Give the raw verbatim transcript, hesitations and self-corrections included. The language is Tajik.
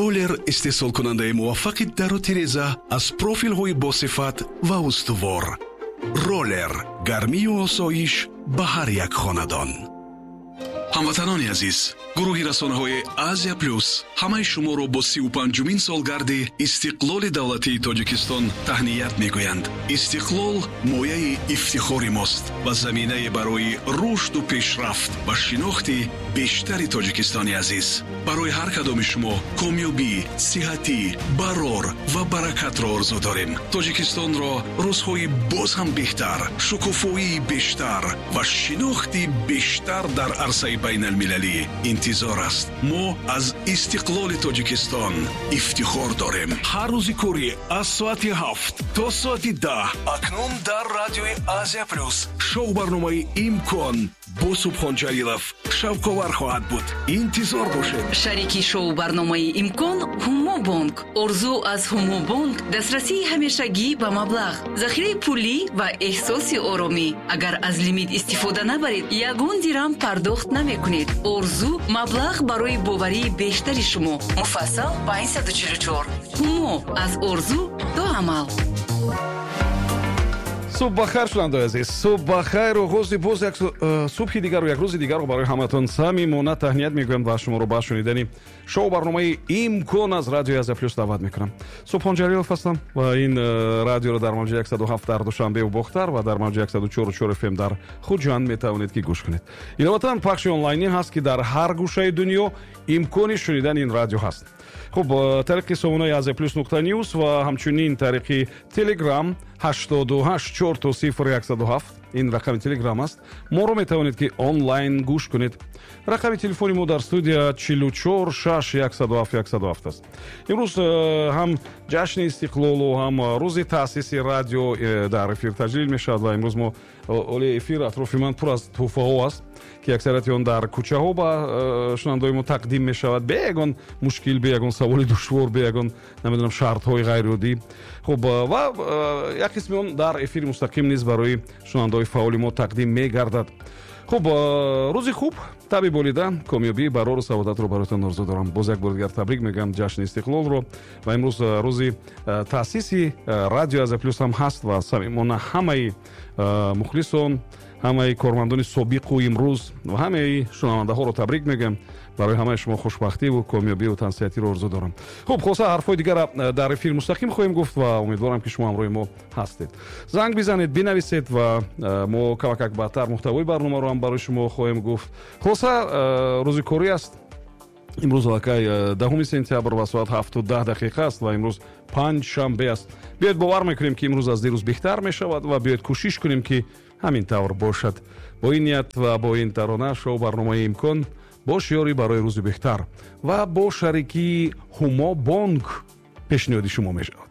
Роллер истеҳсолкунандаи муваффақи дару тиреза аз профилҳои босифат ва устувор. Роллер гармию осоиш ба ҳар як хонадон. Ҳамватанони азиз, гурӯҳи расонаҳои Азия Плюс ҳамаи шуморо бо сию панҷумин солгарди истиқлоли давлатии Тоҷикистон таҳният мегӯянд. Истиқлол мояи ифтихори мост ва заминае барои рушду пешрафт ва шинохти бештари Тоҷикистони азиз. Барои ҳар кадоми шумо комёбӣ, сиҳатӣ, барор ва баракатро орзу дорем. Тоҷикистонро рӯзҳои боз ҳам беҳтар, шукуфоии бештар ва шинохти бештар дар арсаи байналмилалӣ интизор аст. Мо аз истиқлоли Тоҷикистон ифтихор дорем. Ҳар рӯзи корӣ аз соати ҳафт то соати даҳ акнун дар радиои Азия Плюс шоу барномаи «Имкон» бо Субҳон Ҷалилов шавқовар хоҳад буд. Интизор бошед. Шарики шоу барномаи «Имкон» Ҳумобонк. Орзу аз Ҳумобонк дастрасии ҳамешагӣ ба маблағ, захираи пулӣ ва эҳсоси оромӣ. Агар аз лимит истифода набаред, ягон дирам пардохт намекунед. Орзу маблағ барои боварии бештари шумо. Муфассал панҷсаду чилу чор. Ҳумо аз орзу то амал. Субҳ бахайр, шунавандаои азиз, субҳ бахайр. Оғози боз як э, субҳи дигару як рӯзи дигарро барои ҳаматон самимона таҳният мегӯям ва шуморо ба шунидани шоу барномаи «Имкон» аз радиои Азия Плюс даъват мекунам. Субҳон Ҷалилов ҳастам ва ин э, радиоро дар мавҷи яксаду ҳафт дар Душанбеву Бохтар ва дар мавҷи яксаду чору чор F M дар Хуҷанд метавонед ки гӯш кунед. Иловатан, пахши онлайнӣ ҳаст, ки дар ҳар гӯшаи дунё имкони шунидани ин радио ҳаст. Хуб, э, тариқи сомонаи Азия Плюс нуқта ньюс ва ҳамчунин тариқи Телеграм ҳаштоду ҳашт чор то сифр яксаду ҳафт, ин рақами Телеграм аст, моро метавонед ки онлайн гӯш кунед. Рақами телефони мо дар студия чилу чор шаш яксаду ҳафт яксаду ҳафт аст. Имрӯз э, ҳам ҷашни истиқлолу ҳам рӯзи таъсиси радио э, дар эфир таҷлил мешавад ва имрӯз мо оли эфир атрофи ман пур аз тӯҳфаҳо аст, ки аксарияти он дар кӯчаҳо ба э, шунавандаои мо тақдим мешавад, бе ягон мушкил, бе ягон саволи душвор, бе ягон, намедонам, шартҳои ғайриоддӣ. Хуб, ва як қисми он дар эфири мустақим низ барои шунавандаҳои фаъоли мо тақдим мегардад. Хуб, рӯзи хуб, табъи болида, комёбӣ, барору саодатро бароятон орзу дорам. Боз як бори дигар табрик мегӯям ҷашни истиқлолро ва имрӯз рӯзи таъсиси радио Азия Плюс ҳам ҳаст ва самимона ҳамаи мухлисон, ҳамаи кормандони собиқу имрӯз ва ҳамаи шунавандаҳоро табрик мегӯям. Барои ҳамаи шумо хушбахтиву комёбиву тансиҳатиро орзу дорам. Хуб, хулоса, ҳарфҳои дигара дар эфири мустақим хоҳем гуфт ва умедворам, ки шумо ҳамроҳи мо ҳастед. Занг бизанед, бинависед ва мо камакак баъдтар муҳтавои барномаро ҳам барои шумо хоҳем гуфт. Хулоса, рӯзи корӣ аст имрӯз, аллакай даҳуми сентябр ва соат ҳафту даҳ дақиқа аст ва имрӯз панҷшанбе аст. Биёед, бовар мекунем, ки имрӯз аз дирӯз беҳтар мешавад ва биёед, кӯшиш кунем, ки ҳамин тавр бошад. Бо ин ният ва бо ин тарона шоу барномаи «Имкон» бо шиёри «Барои рӯзи беҳтар» ва бо шарикии Ҳумо Бонк пешниҳоди шумо мешавад.